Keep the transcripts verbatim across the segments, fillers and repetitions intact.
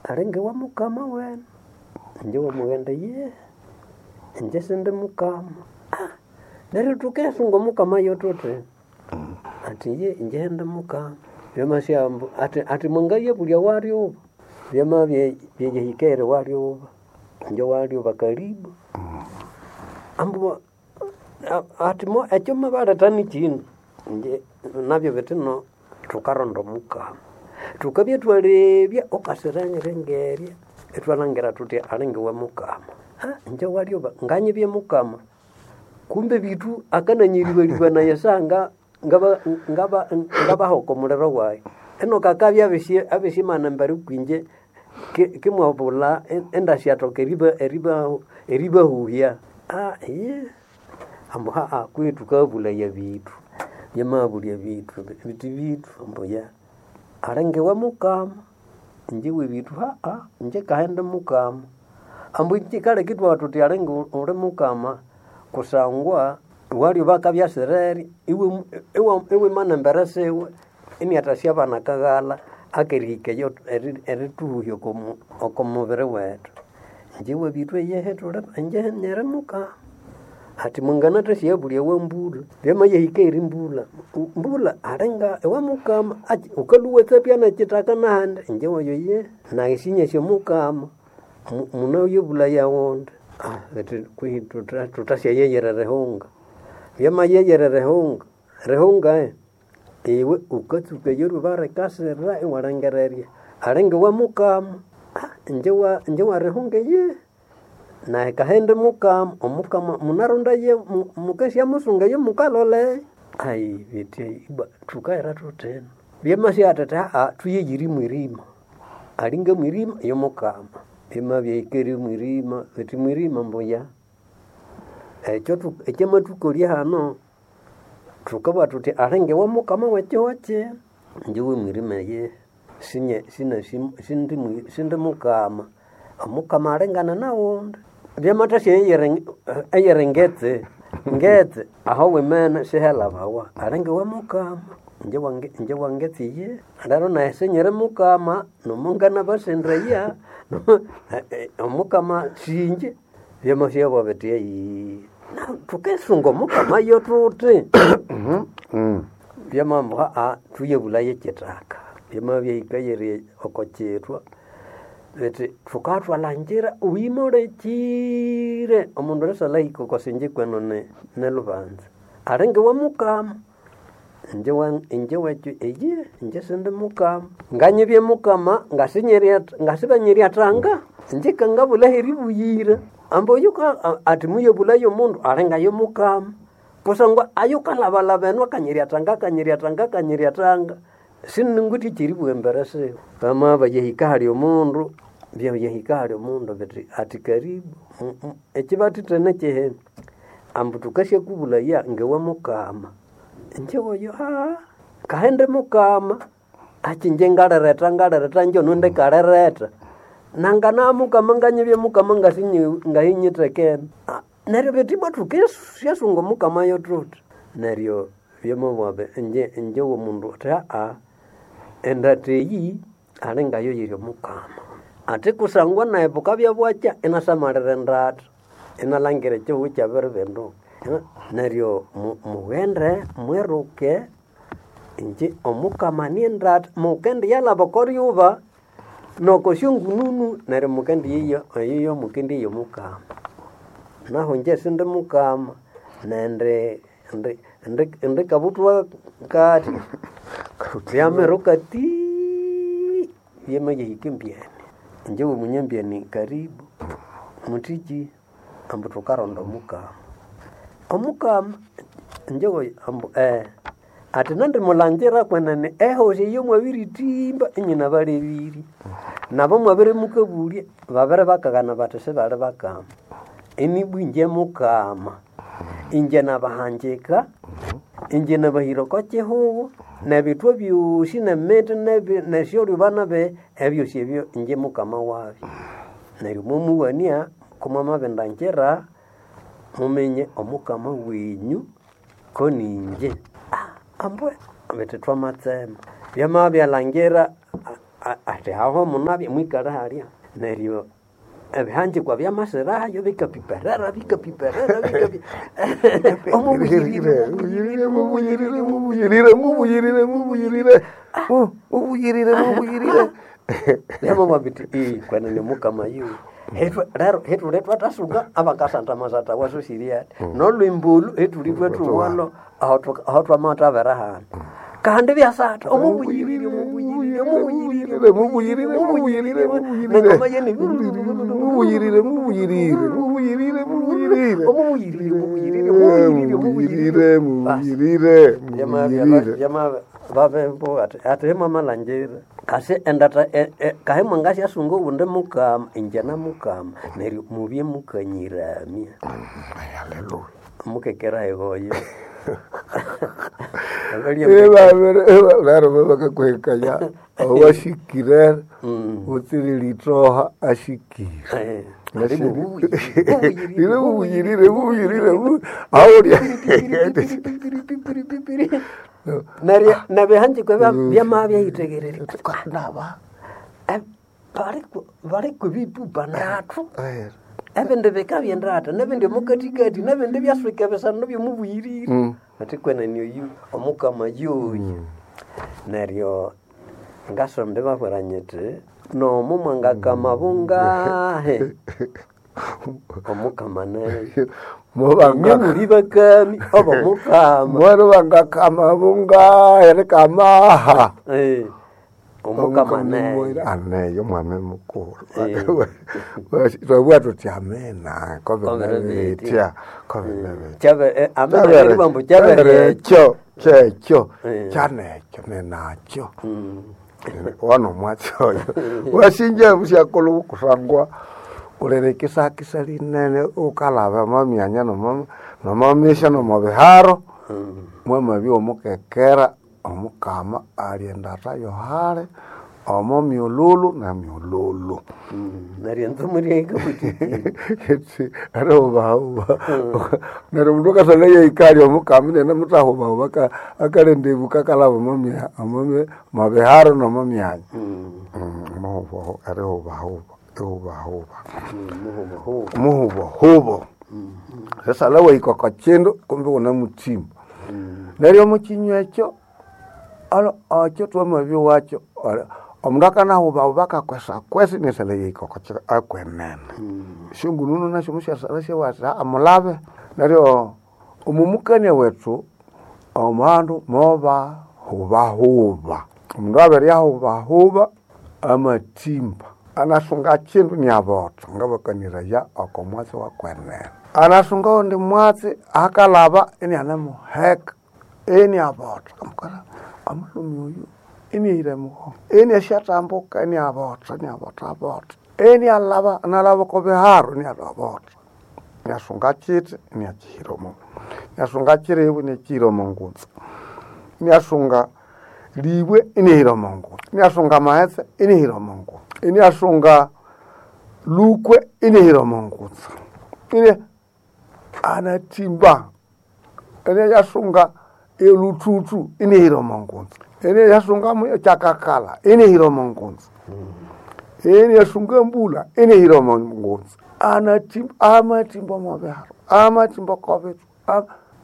Alinga wa mukama wene. Inje wamughenda ye inje sindi mukama. Ah, neryo thukesunga omukama yotuthi ati ye inje ndi mukama. Byamasyambu ati ati mwangayabulya walyuba byamabya byeyihikere walyuba inje walyuba karibu. Ambu ati mo ekyo mabaletha nikyina inje nabyo bithi no thukaronda omukama. Thukabya thwalebya wukasirengerya ngerya ithwalhangira thuthi alinga iwe mukama. Ah inje walyuba nganyibye mukama kumbe bithu akananyiribalĩbanaya esaha ngaba ngaba ngabaha oko muliro wayi. Enoka akabya abisi abisimana embere kwinje kimwabulha indasyathoka eriba eriba eribahuhya. Ah iye ambu haha kwihi thukabulhaya bithu. Byamabulya bithu bithi bithu ambu ya alinga iwe mukama. Inje webithu haha inje kahi indi mukama. Ambu kyikaleka ithwabugha thuthi alinga uli mukama kusangwa walyuba akabya asirere iwe iwimana embere siwe iniathasyabana akaghalha akerihika eyo erithuhuhya oko mubiri wethu. Inje webithu eyehe thuli inje nyiri mukama. Ati mwanganathasya ewa mbulha byamayahika eyiri mbulha, mbulha alinga ewa mukama achi wukalhwa iwatsapya nekyithaka nahandi inje oyo iye nayi sinyasi omukama munayabulaya ghundi. Betu kwihi thuthasyayeghera erihunga. Byamayeyera erihunga, erihunga iwe wukatsuka eryuba rikasira iwalhangira alinga iwe mukama. Inje wa inje werihunga eyihi nayi kahi indi mukama, omukama munarondaye mukasyamusunga eyomukalolea. Ayi betu ibwa thukahera thuthino. Byamasya thuthi haha thuyeyire mwirima. Alinga mwirima yomukama. Byamabya ihikere mwirima betu mwirima mbuya. Ekyo ekyamathukolya hano thukabugha thuthi alinga iwe mukama wekihugho kino. Inje wemwirima eyihi sinye sinasi sindi mukama. Omukama alingana naghunda. Byamathasya eyiri ngetse, ngetse aho wimene sihelhabawa alinga iwe mukama. Inje wangetse iyihi. Lero nayi sinyiri mukama nomunganabasendaya omukama sinje byamasyabu bithi ayi thukisunga omukama yothuthi. Byamabugha ambu haha thuyabulhaye kyithaka. Byamabya ihika eyiri oko kyithwa bithi thukathwalhangira wimolekire omundu erisyalhahika oko sinje kwenu nilubanza. Alinga iwe mukama. Inje inje wekyo eyihi inje sindi mukama. Nganyibye mukama ngasibanyiryatanga inje kangabulha aheribuyira. Ambu oyuka athi muyabulhaye omundu alinga yomukama. Kusangwa ayukalhabalhaba eno akanyiryathanga akanyiryathanga akanyiryathanga siningwithe ekyeribugha embere siwe. Bamabya hali omundu byayahika hali omundu bithi athi karibu ekyibathithene kyihina ambu thukasyakubulhaya ngewe mukama. Inje oyo haaa kahi indi mukama achi inje ngaliretha ngaliretha inje ono indikaliretha. Nangana mukama nganyibye mukama ngahinyithekene. Neryo bithi ibwa thukasyasunga omukama yothuthi. Neryo byamabugha inje inje womundu athi haha endatha eyi alinga yo yiri omukama. Athi kusangwa nayi bukabya bwakya inasamalira endatha inalhangira ekyihugho ikyabiribinduka. Neryo mughende mwiruke inje omukama niendatha mukendiyalhaba okoryuba noko syongununu neryo mukendiyeya eyo mukendiyeya omukama. Nahu inje sindi mukama nendi indi indi kabuthwa kathi byamiruka tiii byamayahika embyeni. Inje womunyambyeni karibu muthiki ambu thukaronda omukama. Omukama inje oyo ambu athi nandimulhangira kwenene ehosi eyo mwabirithimba inyinabalebirye. Nabo mwabirimukabulya babiribakaghana bathi sibali bakama. Inibwa inje mukama. Inje nabahanjika, inje nabahira oko kyihugho nebithwa byosi nemithi nesyolyuba nabi ebyosi ebyo inje mukama wabyo. Neryo mwamuwania kumwamabindangira muminye omukama wenyu koninje. Ambu bithi thwamatsema. Byamabya byalhangira Ati aho munabya mwikale halya. Neryo ebihanjikwa byamasirayo bikapiperera bikapiperera bikapi Mubuyirire, mubuyirire, mubuyirire, mubuyirire, mubuyirire. Mu- Mubuyirire, mubuyirire. Byamabwa biti "Ii, kwenene mukama yu lero hetuli twatasuka abakasanta masata wasusiri ati nolwimbulu hetuli twetuwalo aho twamatavera hano kandi byasata omubuyirire omubuyirire Mubuyirire, mubuyirire, mubuyirire, mubuyirire. nengoma yene Mubuyirire, mubuyirire, mubuyirire, mubuyirire. omubuyirire omubuyirire omubuyirire Mubuyirire, mubuyirire, mubuyirire. byamavavembo ati ati hemamalanjira kasi endata e- e- kahe mwangasyasunga uwundi mukama inje namukama neryo mubye mukanyiramya Haleluya. mukekera ihoyo Lero vakakwekaya awashikire utsiri litoha ashikire Lile mubuyirire mubuyirire aulya neryo nebihanjiko byamabyayithekerere ndaba baliku bipupa ndatu ebindi bikabyendata nebindi mukatikati nebindi byaswika bisano byomubuyirire Mm. ati kwenene oyu omukama yuyu neryo ngasombe babwira nyiti nomu mwangakama bungahe omukama neyo mubanga nyamuli bakami oba mukama mwari vangakama bungahe kamaha Eh, omukama neyo aneyo mwana mukulu Eh. twabwa tuti amena Kovere kovenevetya kovenevetya Kyabe- eh, amena neribambu kyaberekyo kyekyo kyekyo Eh. kyanekyo nenakyo Mm. wano mwatsi oyo wasinja busyakola okusangwa ulere kisakisa linene ukalaba mamyanya nomamisha nomabiharo Mm. mwamabya omukekera omukama ali endata yohale omo myululu na myululu Mm. neryo nzumuryaikabutiti arihubahuba neryo mundu akasala yeikali omukama nene mutahubahuba akalenda ibuka akalaba omomya- omo mabiharo nomomyanya muhubahu arihubahuba ihubahuba muhubahubo sesala waikoko kindu kumbi wuna mutimba neryo omukinywa ekyo alo okyo twamabya wakyo olo- omundu akanahubahuba akakwesakwesa nesala yeikoko ki- akwenene syongununu nasyo musyasala syawasa amulabe neryo omumukania wethu omandu moba hubahuba omundu abere ahubahuba amatimba anasunga kindu niabotho ngabakaniraya oko mwatsi wakwenene anasunga undi mwatsi akalaba inianemuheka iniabotho amukara omulumi oyu iniahire muho iniasyatambuka iniabotho iniabotho abotho inialaba analaba oko biharo iniabotho niasunga kiti iniakihira omo niasunga kiribu iniakihira omo ngunza iniasunga libwe inihira omo ngunza iniasunga amaghetse inihira omo ngunza iniasunga lukwe inihira omo ngunza ini anatimba iniasunga eluthuthu inihira omo ngunza iniasunga kyakakala inihira omo ngunza eniasunga mbula enehira omongonzi anatimba amatimba omobiharo amatimba kobitu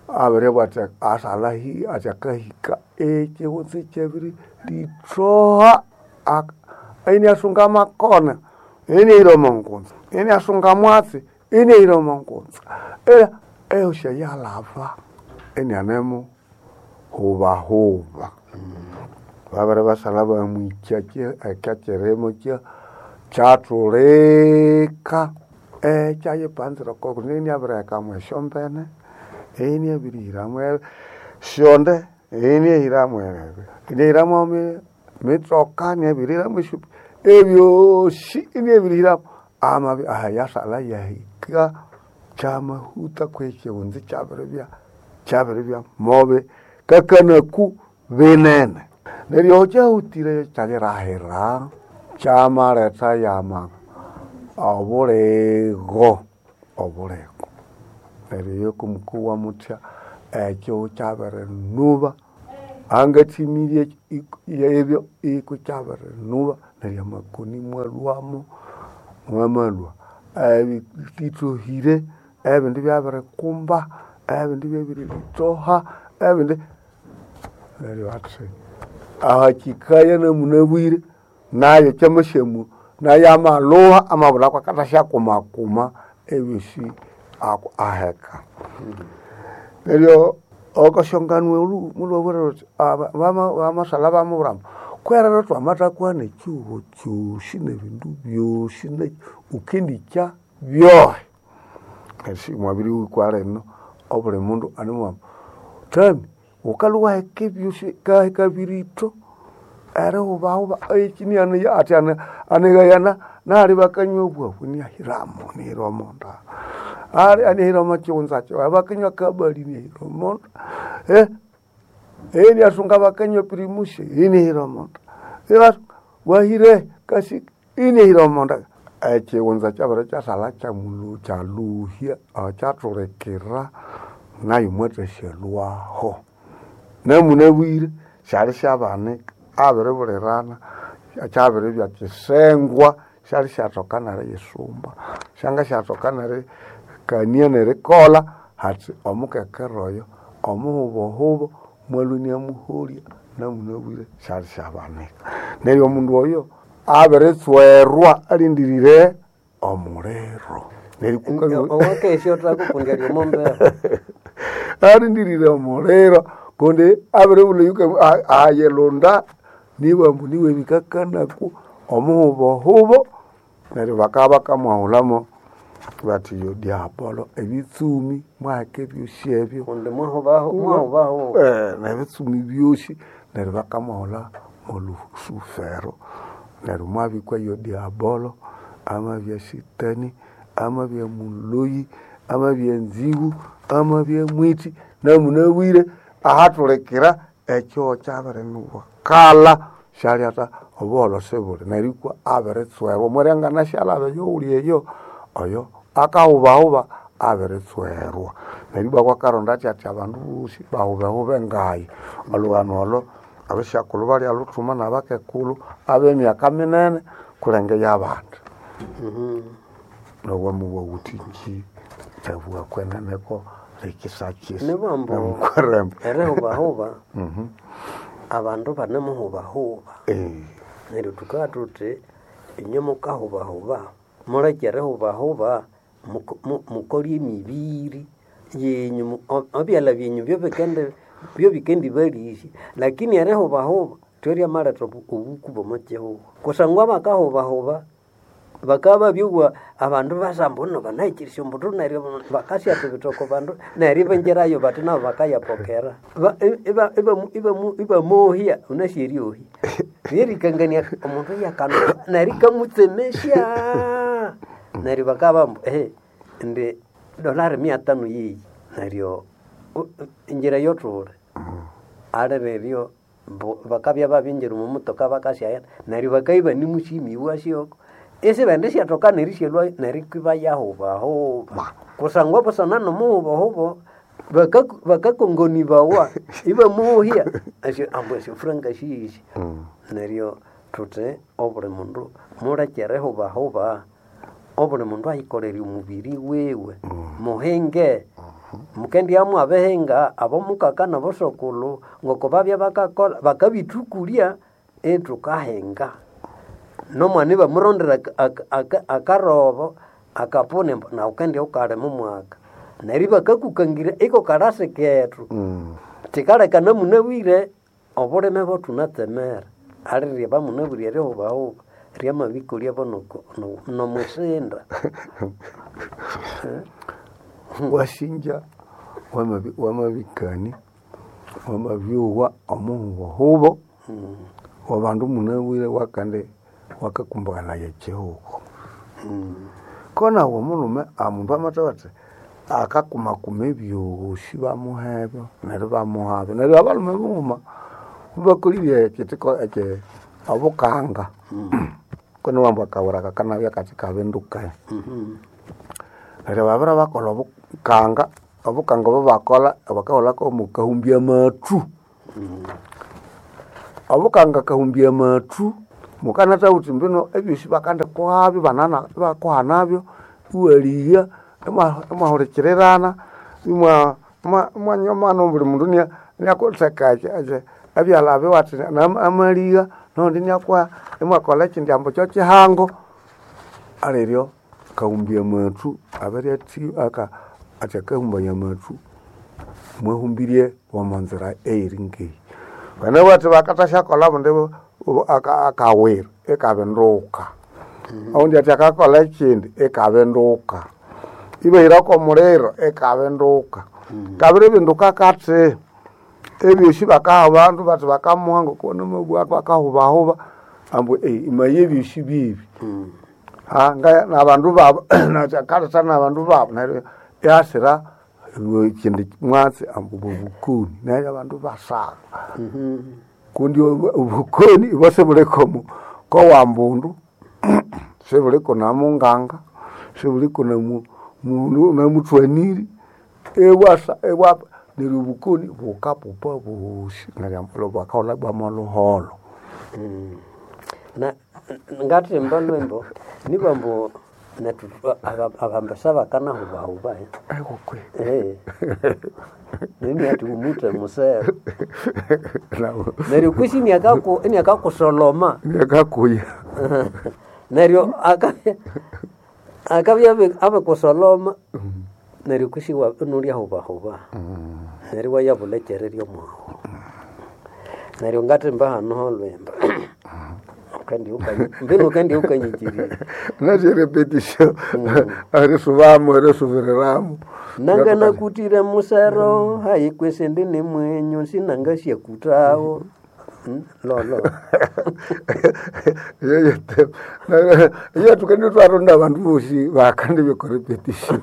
abere bwati asalahi atyakahika ekighunzi kyebiri lithoha Ak- eniasunga makona enehira omongonzi eniasunga mwatsi enehira omongonzi era ehosya yalava enianemu hubahuba babere basala bamwikya ekyakirimo kya kyatulika ekyayipanzira koko neniabirihekamu esyombene eniabirihiramu syonde eniahiramu ebyo eniahiramu emi- mitsoka niabirihiramu esyopi ebyosi eniabirihiramu amabi ahayasala yahika kyamahuta kwekyihunzi kyabiribya kyabiribya mobe kakanaku binene neryo kyahutire kyalirahira kyamaletha yama obuligo obuligo neryo yokomukuwa muthya ekyo kyabirinuba angathimirie ebyo iko kyabirinuba Neryo amakoni mwalhwamo, mwamalhwa ebithohire, ebindi ibyabirikumba, ebindi ibyabiritoha, ebindi neryo athi ahakikaya namunabwire nayo kyamasyamu nayo amalhuha amabulhako akathasyakumakuma ebyosi aku aheka. Neryo okasyongano olhu mulhwabwira luthi bamashalha bamubwira ambu kwerero twamathakuhana ekyihugho kyosi nebindu byosi wukendikya byohi. Neryo mwabirihikwa lino obuli mundu animubwira ambu thami wukalhwa iwaheka ebyosi kaheka biritho erihubahuba ekinianeya athi anighayana nali bakanywa obwabu inahiramu inahira omonda. Ali anahira omo kighunza kyiwe bakanywa akabali inahira omonda. Iniasunga bakanywa primus inahira omonda. Wahire kasi inahira omonda. Ekighunza kyabere kyasalha kyamulhu kyalhuhya kyathulekera nayo mwathasyalhwaho. Namunabwire syali syabanika abiribulirana kyabiribya kyisengwa syali syathoka neriyisumba syangasyathoka nerikania nerikolha hathi omukekera oyo omuhubohubo mwalhwa iniamuholya namunabwire syali syabanika. Neryo omundu oyo abiritswerwa alindirire omuliro. Neryo Owakesya uthakukundi ali omo mbeho. Alindirire omuliro kundi abiribulha ayilhunda nibambu niwe bikakanaku omuhubohubo neryo bakabya bakamwahulhamu bathi yo diabolo ebitsumi mwaheka ebyosi ebyo Kundi mwahubahu mwahubahu nebitsumi byosi neryo bakamwahulha molusufero neryo mwabikwa yo diabolo amabya sitani amabya muloyi amabya nzigu amabya mwithi namunabwire ahathulikira ekyo kyabirinuwakalha syalyatha obuholho sibuli neryo ikwa abiritswerwa omwiryanganasyalyalhaba eyoghuli eyo oyo akahubahuba abiritswerwa. Neryo ibwa kwakaronda athi athi abandu bosi bahubehube ngayi. Olhughano olho abasyakulhu balyaluthuma nabakekulu abemyaka minene kulenga eyabandi. Nowamuwa wuthi ki thabugha kweneneko rikisakisa Nibambu namukweremba. erihubahuba abandu banemuhubahuba. Neryo thukabugha thuthi inywe mukahubahuba muleke erihubahuba mukolye emibiri yenyu ebyalha byenyu byobikendibalisya lakini erihubahuba thweryamalhetha obuku bw'omo kihugho kusangwa bakahubahuba bakabya babyowa abandu basa ambu mbunu banahikyirisya ombuthu neryo bakasyatha ebitoko bandu neryo ibingirayo bathi nabo bakayapokera. Ibamohya wunasi eryohya lyerikangania omundu eyakanuka neryo ikamutsemesya neryo bakabugha ambu ehe indi dolari mia tano yeyi neryo ingira thuli alireryo bakabya babingira omo mutoka bakasyaghenda neryo bakabya ibanimusyimiwa syoko isibendi syathoka nerisyalhwayo neryo ibayahubahuba kusangwa busana nomuhubahuba bakakongonibawa ibamuhya ambu esyofuranga siyisi. Neryo thuthi obuli mundu muleke erihubahuba obuli mundu ayikolere omubiri wiwe muhinge mukendibya mwabihinga abomukaka nabosokulhu ngoko babya bakakolha bakabithukulya ithukahinga. Nomwana ibamurondera akarobo akapuni ambu nawu wukendibya wukalima omwaka neryo ibakakukangira iko kalasi kethu kyikaleka namunabwire obulime bwathunatsemera alirye bamunabwire erihubahuba ryamabikolya nomwisinda. Wasinja wamabikania wamabyowa omuhubohubo wabandu munabwire wakandi wakakumbukanaya ekyihugho. Konawu omulhume omundu amathabugha athi akakumakuma ebyosi bamuhebyo neryo ibamuhabyo. Neryo abalhume bughuma mubakolirye ekyithiko ekyi obukanga kwenene ambu akawira kakanabya kathi kabinduke. Neryo babere bakolha obukanga, obukanga obo bakolha bakaholhako mukahumbya amathu. Obukanga kahumbya amathu Mukanata uthi mbino ebyosi bakandi kuhabyo banana bakuhanabyo iwaliya imwahulikirirana imwa imwanywa buli mundu nia niakutheka ebyalha biwathi amaliya nondi niakuha imwakolha ekindi ambu kyokihango aliryo kahumbya amathu abiryathi aka athi akahumbaya amathu mwahumbirie omonzira eyiri ngeyi. Banabugha bakathasyakolha obundi akawira ikabinduka. Owundi athi akakolha ekindi ikabinduka. Ibahira kw'omuliro ikabinduka. Kabiribinduka kathi ebyosi bakaha abandu bathi bakamuha ngoko namabugha bakahubahuba ambu imaye ebyosi byebi. Nabandu babu akaletha nabandu babu neryo ihasira ekindi mwatsi ambu bobukoni neryo abandu ibasaba. Kundi obukoni ibwa sibuli kowambundu, sibuliko namunganga, sibuliko namuthwaniri, ibwasa ibwa neryo obukoni bukapupa bosi neryo bakaghulha bwamolhuholho. Na ngathimba lwembo nibwa ambu nethu abambesa bakanahubahuba Ekokwe. eh nini athi umuthe musero neryo kwisi iniakaku iniakakusoloma Iniakakuya. neryo akabya akabya abikusoloma neryo kwisi inulyahubahuba neryo iwayabulha ekyererya mwahu neryo ngathimba hano holwemba mbinu ukandiukanyikirira Nasi repetition erisubamu erisubiriramu. nanganakutire musero hayi kwesindi ni mwenyu sinangasyakutawo lolo Iyo tukende twaronda abandu bosi bakandi biko repetition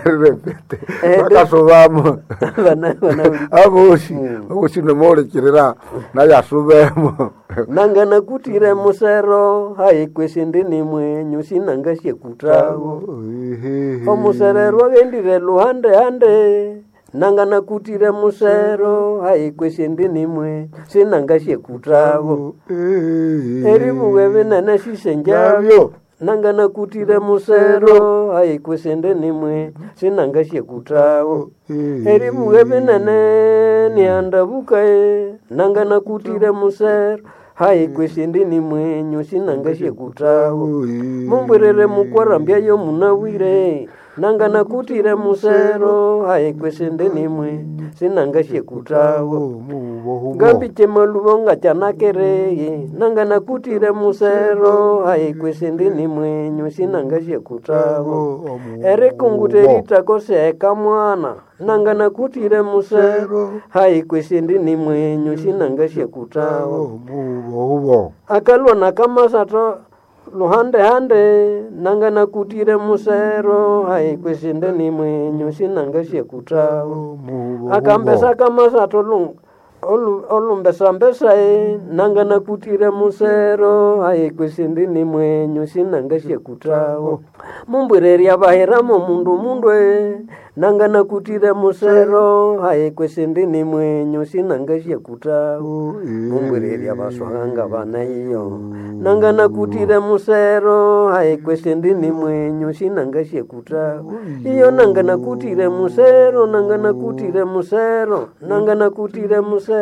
repete Eh, bakasubamo Bana- bana- abosi abosi nomolikirira naye asubemo nanganakutire musero hayi kwesindi ni mwenyu sinangasyakutawo omuserero agendire luhande hande nanganakutire musero hayi kwesindi ni mwenyu sinangasyakutawo eribuwe binene sisenjabyo nanganakutire musero hayi kwesindi ni mwenyu sinangasyakutawo eribuwe binene niandabukae nanganakutire musero hayi kwesindi ni mwenyu sinangasyakutawo mumbwirire mukwarambya yo munawire nanganakutire musero hayi kwesindi ni mwenyu sinangasyakutawo ngambiche maluvo ngachanakereye nanganakutire musero hayi kwesindi ni mwenyu sinangasyakutawo erikungute ritakoseka mwana nanganakutire musero hayi kwesindi ni mwenyu sinangasyakutawo akalwa nakamasato luhande hande nanganakutire musero hayi kwesinde ni mwenyu sinangasyakutawo akambesa kamasato lu- olu- olumbesambesa-e nanganakutire musero hayi kwesindi ni mwenyu sinangasyakutawo mumbwirerya bahiramo mundu mundwe nanganakutire musero hayi kwesindi ni mwenyu sinangasyakutawo mumbwirerya baswahanga bana iyo nanganakutire musero hayi kwesindi ni mwenyu sinangasyakutawo iyo nanganakutire musero nanganakutire musero nanganakutire musero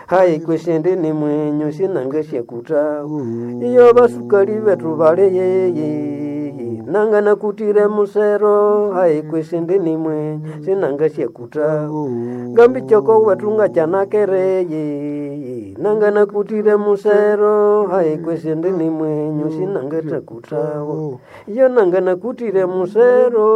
hayi kwesindi ni mwenyu sinangasyakutawo iyo basukali betu bali yeye nanganakutire musero hayi kwesindi ni mwenyu sinangasyakutawo ngambichoko wetu ngachanakereye nanganakutire musero hayi kwesindi ni mwenyu sinangatakutawo iyo nanganakutire musero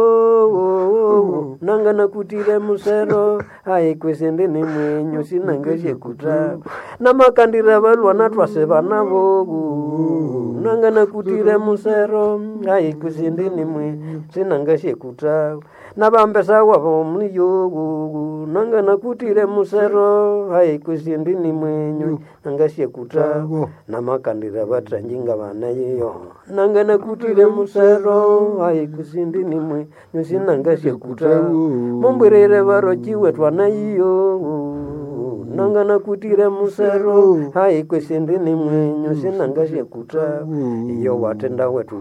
nanganakutire musero hayi kwesindi ni mwenyu sinangasyakutawo namakandira balwana twase nabo nanganakutire musero hayi kwesindi ni mwenyu sinangasyakutawo nabambesa wabo muniyogu nanganakutire musero hayi kwesindi ni mwenyu nangasyakutawo namakandira batranjinga bana yiyo nanganakutire musero hayi kusindi ni mwenyu sinangasyakutawo mumbwirire barochiwe twana yiyo Nangana kutire musero. Hayi kwesindi ni mwenyo sinangashakuta. Iyo watenda wetu